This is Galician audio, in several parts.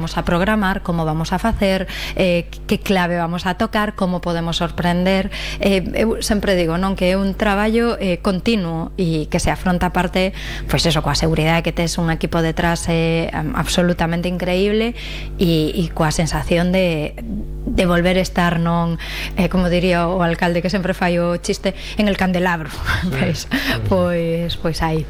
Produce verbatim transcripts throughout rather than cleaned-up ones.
vamos a programar, como vamos a facer, eh, que clave vamos a tocar, como podemos sorprender. Eh, eu sempre digo, non, que é un traballo eh, continuo e que se afronta a parte, pois eso, coa seguridade que tes un equipo detrás eh, absolutamente increíble e, e coa sensación de, de volver a estar, non, eh, como diría o alcalde que sempre fai o chiste, en el candelabro. Sí, pois, sí. pois, pois aí.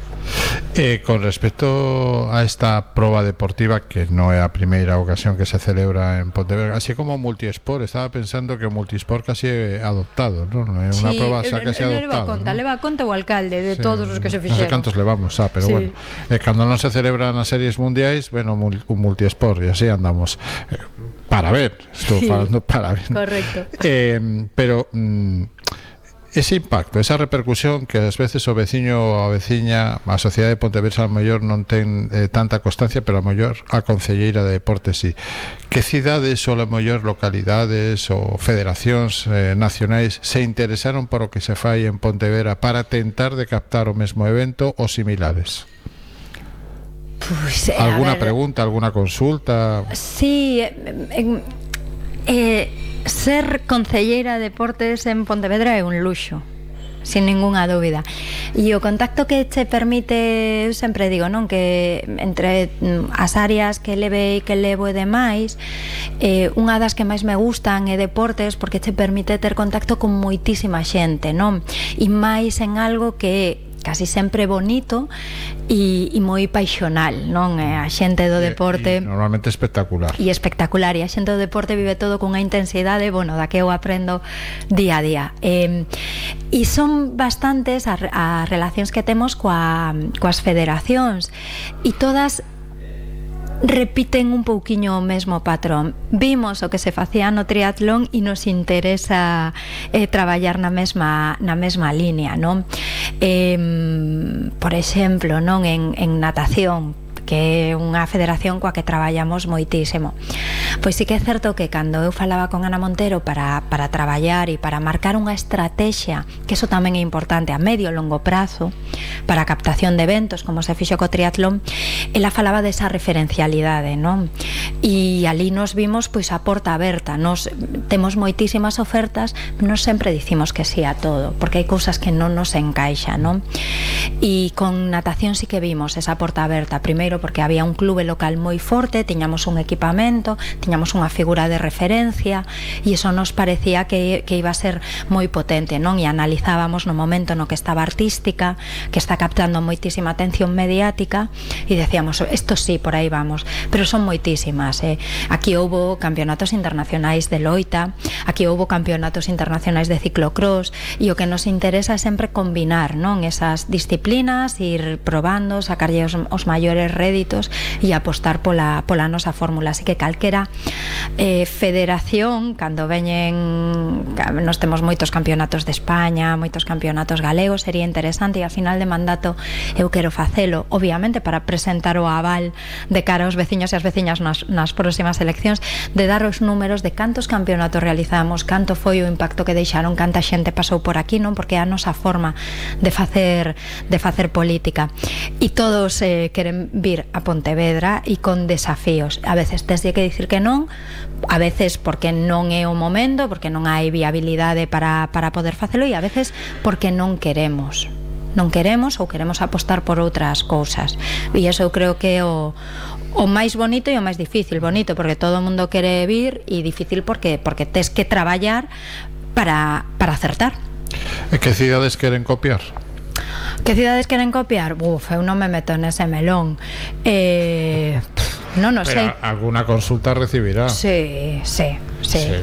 Eh, con respecto a esta proba deportiva, que no é a primeira ocasión que se celebra en Pontevedra, así como Multisport, estaba pensando que Multisport casi é adoptado, non? É unha sí, proba xa casi adoptada. Leva conta, ¿no? Leva conta o alcalde de sí, todos os que se fixeron. Non sei cantos levamos, ah, pero sí. Bueno, eh, cando non se celebran as series mundiais, bueno, un Multisport, e así andamos. Eh, para ver, estou sí, falando para ver. Correcto. Eh, pero... Mm, ese impacto, esa repercusión que ás veces o veciño ou a veciña, a sociedade de Pontevedra a mellor non ten eh, tanta constancia, pero a mellor a concelleira de deportes sí. Que cidades ou a mellor localidades ou federacións eh, nacionais se interesaron por o que se fai en Pontevedra para tentar de captar o mesmo evento ou similares? Pues, alguna ver, pregunta, alguna consulta? Sí, eh, eh ser concelleira de deportes en Pontevedra é un luxo, sin ningunha dúbida. E o contacto que che permite, eu sempre digo, non, que entre as áreas que leve e que levo e demais, eh, unha das que máis me gustan é deportes, porque che permite ter contacto con moitísima xente, non? E máis en algo que é casi sempre bonito e, e moi paixonal, non? A xente do deporte e, e normalmente espectacular e espectacular, e a xente do deporte vive todo cunha intensidade, bueno, da que eu aprendo día a día, eh, e son bastantes as, as relacións que temos coa, coas federacións, e todas repiten un pouquiño o mesmo patrón. Vimos o que se facía no triatlón e nos interesa eh, traballar na mesma na mesma línea, non? Eh, por exemplo, non, en, en natación, que é unha federación coa que traballamos moitísimo. Pois sí que é certo que cando eu falaba con Ana Montero para, para traballar e para marcar unha estrategia, que eso tamén é importante a medio e longo prazo, para a captación de eventos, como se fixo co triatlón, ela falaba desa referencialidade, non? E ali nos vimos pois a porta aberta, nos temos moitísimas ofertas, non sempre dicimos que sí a todo, porque hai cousas que non nos encaixan, non? E con natación sí que vimos esa porta aberta, primeiro porque había un clube local moi forte, tiñamos un equipamento, tiñamos unha figura de referencia, e iso nos parecía que, que iba a ser moi potente, non? E analizábamos no momento no que estaba artística, que está captando moitísima atención mediática, e decíamos, isto sí, por aí vamos, pero son moitísimas, eh? Aquí houbo campeonatos internacionais de loita, aquí houbo campeonatos internacionais de ciclocross, e o que nos interesa é sempre combinar, non, esas disciplinas, ir probando, sacarlle os, os maiores réditos e apostar pola, pola nosa fórmula. Así que calquera eh, federación, cando veñen, nos temos moitos campeonatos de España, moitos campeonatos galegos, sería interesante, e a final de mandato eu quero facelo, obviamente para presentar o aval de cara aos veciños e as veciñas nas, nas próximas eleccións, de dar os números de cantos campeonatos realizamos, canto foi o impacto que deixaron, canta xente pasou por aquí, non? Porque é a nosa forma de facer de facer política, e todos eh, queren vir a Pontevedra e con desafíos. A veces tes que dicir que non, a veces porque non é o momento, porque non hai viabilidade para, para poder facelo, e a veces porque non queremos non queremos ou queremos apostar por outras cousas, e iso eu creo que é o o máis bonito e o máis difícil. Bonito porque todo o mundo quere vir, e difícil porque porque tes que traballar para, para acertar. E que cidades queren copiar? Que cidades queren copiar? Uf, eu non me meto nese melón. Eh, non o sei. Pero alguna consulta recibirá. Sí, sí, sí. sí.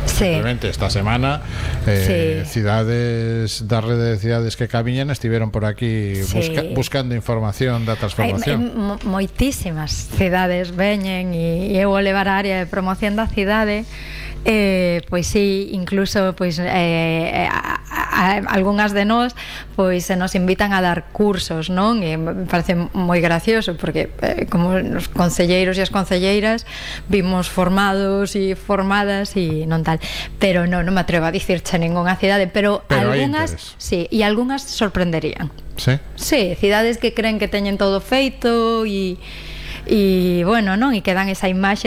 Simplemente sí. Esta semana eh, sí. cidades da rede de cidades que camiñan estiveron por aquí sí. busca, buscando información da transformación. Hai, hai moitísimas cidades veñen, e, e eu vou levar a área de promoción da cidade. Eh, pois sí, incluso pois eh, a, a, algunhas de nós pois se nos invitan a dar cursos, non? E me parece moi gracioso porque eh, como os concelleiros e as concelleiras vimos formados e formadas e non tal, pero non, non me atrevo a dicirche ningunha cidade, pero, pero algunhas, sí, e algunhas sorprenderían. Sí? Sí, cidades que creen que teñen todo feito e e bueno, non? E que dan esa imaxe